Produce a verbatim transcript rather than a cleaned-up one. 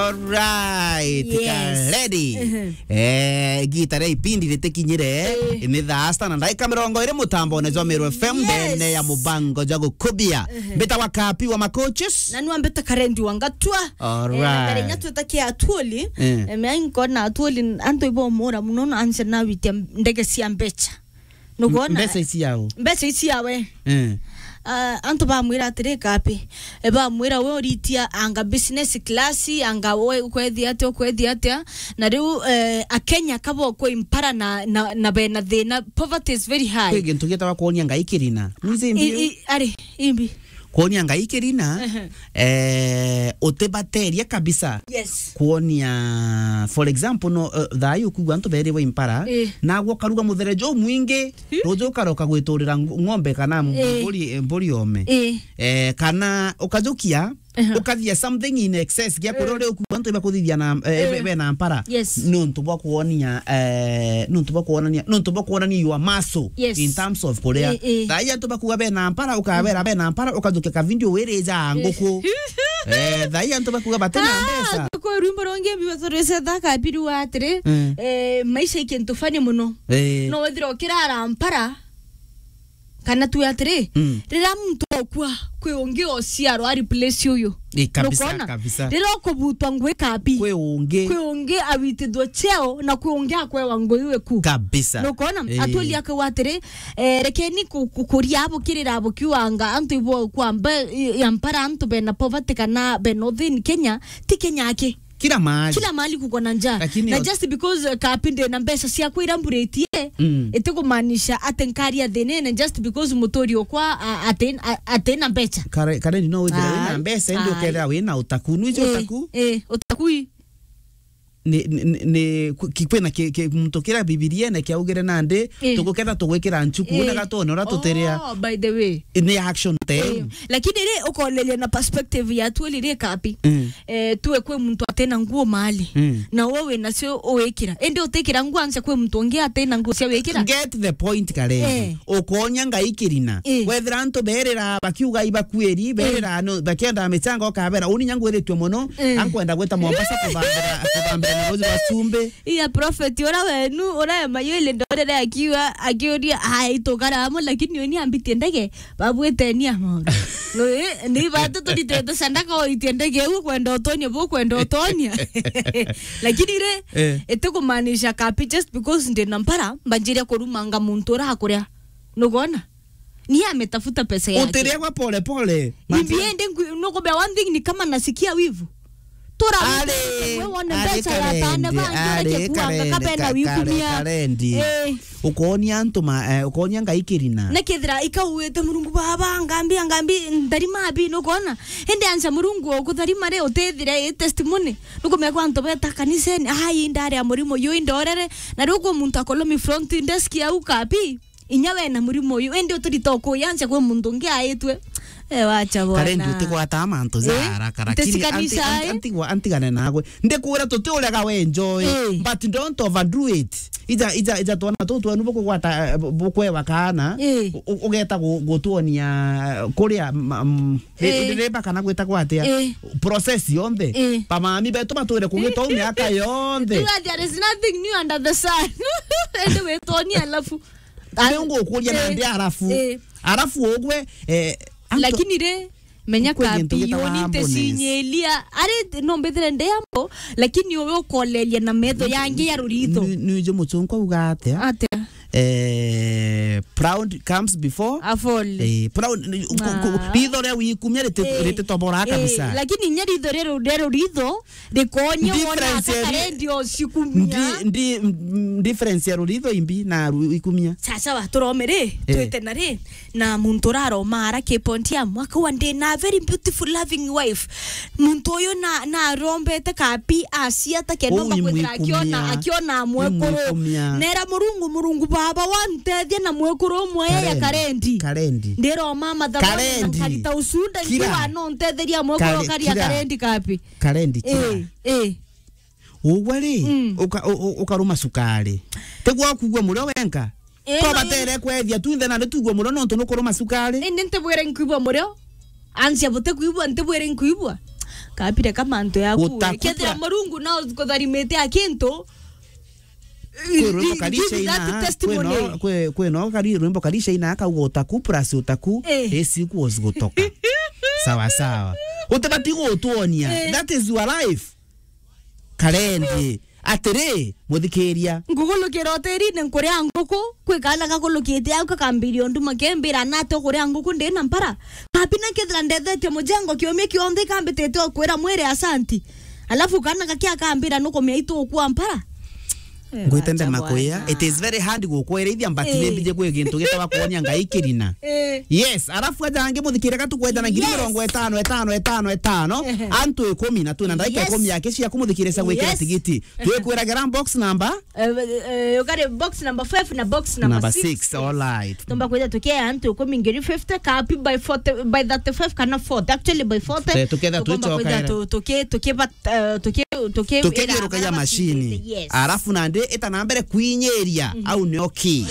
Alright, yes. Karedi. Mhm. Eh, gita ria ipindi ritikinyire. Eh. Ni thaa sita na ndaika mirongo iri mutambone jwa Meru F M, yes, ndene ya mubango jwa gukubia. Mhm. Mbita wa Kapi wa Macoaches. Na nwa mbita Karendi wa Ngatua. Alright. Eh, na mbere nya twitakia Atuoli. Eh. Eh, mea nkona Atuoli, antu ibomura muno na anse na witia ndege cia mbecha. Nukwona? Mbeca ici yao. Mbeca ici yawe. Eh. Ah, antu bamwira atiri, Kapi. E, bamwira we uritia anga business class, anga we ukwethia atia, ukwethia atia. Na riu, eh, Akenya kabo kwi mpara na, na, na bena thina. Poverty is very high. Kwi gintu gitagwa kwonia Ngai kirina. Mwizi I, mbio. I, ari, imbi. Kwonia Ngai kirina, ehe, eh, utibateria kabisa. Yes. Kwonia, for example, no, eh, thaa ii ukwigua antu berirwe impara, eh, nagwo ukaruga muthere jumwingi, hi, ruju ukaroka gwiturira ng-, ng'ombe kana m-, eh, mburi, eh, mburi ome. Eh. Eh, kana ukajukia, ehe, ukathia something in excess gia kuria, eh, uri ukwigua antu ibakuthithia na, eh, eh, be-, bena mpara. Yes. Nontu bwa kwonia, eh, nontu bwa kwonania, nontu bwa kwonania your muscle, yes, in terms of kuria. Eh, eh. Thaa ii antu bakuga bena mpara, ukabera, mm, bena mpara, ukajukia ka video wirija nguku. Eh. Eh, thaa ii antu bakuga batina mbeca. Ah, kwi rwimbo rungi mbibatorese thaka biru atiri, mm, eh, maisha i kintu funny muno. Eh. No withira ukirara mpara, kana tu atiri, mm, riria muntu okua, kwi ungi ociarwa a replace uyu. Ii, kabisa, nukwona? Kabisa. Riria ukubutwa ngui Kapi, kwi ungi, kwi ungi awitithua cheo, na kwi ungi akwewa ngui iwe ku. Kabisa. Nukwona? Ii. Atuoli akauga atiri, eh, rekeni ku-, ku-, kuria abo kirira abo kiuanga antu ibo kwamba, i-, ya mpara antu bena poverty kana bena uthini Kenya, ti Kenya aki. Kila mahali. Kila mahali kuko na njaa. Lakini na ot- just because, uh, Kapi ndina mbeca ciakwa iramburitie, mm, itikumaanisha ati nkaria thinene just because muturi okwa, a-, ati-, a-, atina mbeca. Kare-, Kareni no withire wina mbeca, indi ukethira wina utaku. Nwici utaku? Eh, utaku i? Ni, ni, ni, ni, ku-, ki-, kwina ki-, ki-, muntu kiria Bibiriene kiaugire nandi, eh, tuguketha tugwikira nchuku, eh, na gatone uria tutiria. Oh, by the way. Ni action time. Eh, lakini ri, ukoleria na perspective ya Atuoli ri Kapi. Mm. Eh, tuwe kwi muntu atina nguo mali. Mm. Na we wina cio uwikira. Indi utikira nguo anse kwi muntu ungi atina nguo cia wikira. Get the point, Kareni. Eh. Ukonia Ngai kirina. Eh. Wethira antu berira bakiuga ibakuiri, eh, berira no, bakienda michango, ukabera, uni nyangu iritwe muno, eh, ankwenda gwita Mombasa kubambira, kubambira na rozi wa chumbi. Iya prophet, ura wenu, ura ya mayuile ndorere akiwa, akiuria, "Ai, tukara amo, lakini uni ambitie ndege." Babwitenia maundu. No, eh, ni batu turitete sandaka oitie ndege iu, kwenda utonia, bu kwenda utonia. Lakini ri, eh, itikumaanisha Kapi just because ndina mpara, mbanjiria kurumanga muntu urakuria. Nukwona? Ni ametafuta pesa yake. Utiria gwa pole pole. Imbi ende nkwi-, nukubea one thing ni kama nasikia wivu. Tura ari, we wone ari mbeca ya Kareni, tane bangi ari ureke kuanga Kareni, kabena ka-, wikumia. Kareni. Eh. Ukonia antu ma, eh, ukonia Ngai kirina. Na kethira ikauwite Murungu baba, ngambia, ngambi, ndarima abi, nukona? Indi ansa Murungu ukutharima ri, utethire i testimony. Nukumea kwa antu beta kaniseni, ai, ndari ya murimo yu, indorere. Na riu kwa muntu akolomi front desk ya Ukapi. Inya we na murimo uyu, indi uturita ukuyancha kwi muntu ungi aitwe. Eh, wacha bwana. Kareni utigwata mantu ja, eh, haraka, lakini nti-, anti-, anti-, eh? Antigwa-, antigane nagwe. Ndikwira tutiurega we enjoy, eh, but don't overdo it. Ija, ija, ija twana tu twenu bukugwata, eh, bu-, bukwewa kana, eh, u-, u-, ugeta gu-, gutuonia kuria, ma-, mm, ri-, eh, ri-, riba kana gwita gwatia, eh, process yonthe. Eh. Bamami betu batwire kugita u miaka yonthe. Tuga there is nothing new under the sun. Indi witonia alafu Ndio ngukuria, eh, nandi arafu. Eh. Arafu ugwe, eh, anto-, lakini ri, menya kwi gintu Kapi, gitagwa yoni humbleness. Nticinyilia. Ari, no mbithire ndi ambo, lakini uwe ukoleria na metho yangi ya ruritho. Ni, ni, ni jo muchunku auga atia? Atia? Eh, proud comes before a fall. Eh, proud, ni, ku-, ku-, ah, ritho ria wikumia riti-, eh, rititobora, eh, kabisa. Lakini inya ritho ria ru-, ria ruritho, Ndikonya wona difference ya ri-, Karendi ocikumia. Ndi-, ndi-, m-, difference ya ruritho imbi na ru-, ikumia. Sawa sawa, turome ri, eh, twite na ri, na muntu uraroma ara ki point ya mwaka wa ndi na very beautiful loving wife. Muntu uyu na, na arombete Kapi aciata kenda umba kwithira akiona, akiona mwekuru. Nera Murungu, Murungu baba wantethia na mwekuru umwe ya Karendi. Karendi. Ndiroma mathabu na nkarita ucunda nkiwa no ntetheria mwekuru karia Karendi Kapi. Karendi kira. Eh, eh. Ugwe ri, mm, uka-, u-, u-, ukaruma cukari. Tigwa kugua murio wenka. Eh, no, batere kwethia tu nthe na ndu tugua murio nontu nukuruma cukari. Indi ntibwire nkuigua murio. Ansia buti kuigua, ntibwire nkuigua. Kapire ka mantu yaku. Utaku kethira pra- Murungu no kutharimite a kintu. Kwi rwimbo Karisha ina, kwi no, kwi, kwi no kari rwimbo Karisha ina akauga utaku plus utaku, eh, isi kuos gutoka. Sawa, sawa. Utibati gutuonia. Eh. That is your life. Karendi. Atiri, muthikiria. Ngugulukira hotelini nkuria nguku, kwi kaana gakulukite au kakambiria unduma kembira nate ukuria nguku ndi na mpara. Kapi na kethira ndethetie mujengo kiumia kionthe kambitite ukwira mwiri asanti. Alafu kaana gakia kambira nukumia itu ukua mpara. Eh, ngwite ndema kwia. It is very hard gukwirithia, but eh, ni mbije kwi gintu gitagwa kuonia Ngai kirina. Eh. Yes, alafu aja angi muthikire gatu kwenda na ngiri mirongo itano, itano, itano, itano. Ehe. Antu ikumi na twina ndagika ikumi yake cia kumuthikirisa gwikira tigiti. Yes. Twikwiragira box number? Eh, eh, ukari box number five na box number six. Number six, all right. Tumba kwija tukia antu ikumi ngiri fifty, kapi by forty, by thirty-five kana forty. Actually by forty. Eh, tuketha tukwija tuki-, tuki-, tuki-, eh, tuki-, tuki-, tukithiurukagia macini. Yes. Alafu nandi ita na mbere kwinyiria, au nio ki?